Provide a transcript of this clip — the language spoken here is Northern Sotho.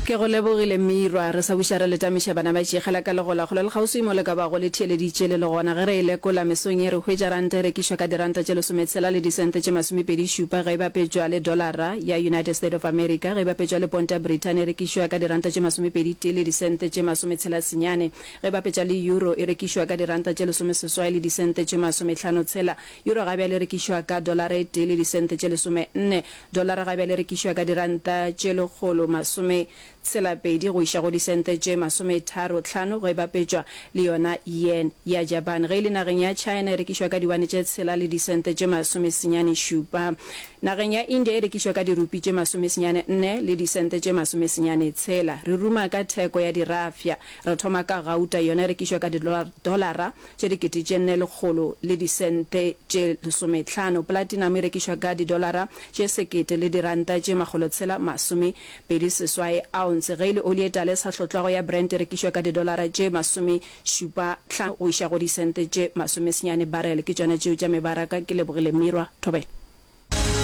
Ke go lebogile Mirwa. Re sa buša re le tamiša bana ba tšegela ka legola kgole le kgauswi mo le ka bago le theeleditše le le gona. Ge re e lekola mesong ye re hwetša ranta e rekišwa ka diranta tše lesometshela le disente tše masomepedi šupa ge e bapetšwa le dolara ya United State of America. Ge e bapetšwa le ponta ya Brithani e rekišwa ka diranta tše masomepedi tee le disente tše masometshela senyane. Ge e bapetšwa le euro e rekišwa ka diranta tše lesomeseswai le disente tše masomehlano tshela. Euro ga bjale e rekišwa ka dolara e tee le disente tše lesomenne. Dolara ga bjale e rekišwa ka diranta tše 162 go iša go disente tše 35 ge e bapetšwa le yona yen ya Japan. Ge e le nageng ya China e rekišwa ka diwane tše tshela le disente tše masomesenyane šupa. Nageng ya India e rekišwa ka dirupi tše masomesenyane nne le disente tše masomesenyane tshela. Re ruma ka theko ya dirafša. Re thoma ka gauta, yona e rekišwa ka didolara tše 4100 le disente tše lesometlhano. Platinum e rekišwa ka didolara tše sekete le diranta tše makgolotshela masomepedi seswai ounce. Ge e le oli e tala e sa hlotlwago ya Brent e rekišwa ka didolara tše masomešupa hlano go iša go disente tše masomesenyane barrel. Ke tšona tšeo tša mebaraka. Ke lebogile Mirwa. Thobela.